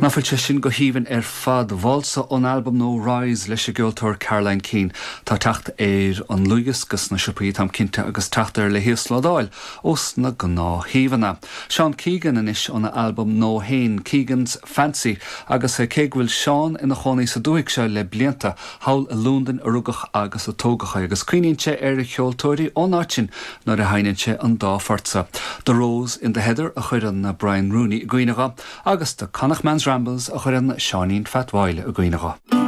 Ná fuil sé sin go haoibhinn ar fad? Válsa ón albam nua Rise leis an gceoltóir Caroline Keane. Tá teacht ar an ndlúthdhiosca sna siopaí, táim cinnte, agus teacht air le híoslódáil ós na gnáthshuíomhanna. Seán Keegan anois óna albam nua féin, Keegan's Fancy, agus cé go bhfuil Seán ina chónaí sa dúthaigh seo le blianta, thall i Londain a rugadh agus a tógadh é, agus cuimhníonn sé ar cheoltóirí ón áit sin nuair a sheinneann sé an dá phort seo. The Rose in the Heather a chuireann Brian Rooney i gcuimhne dho, agus The Connachtman's Rambles a chuireann Seáinín Phat Mháille i gcuimhne dho.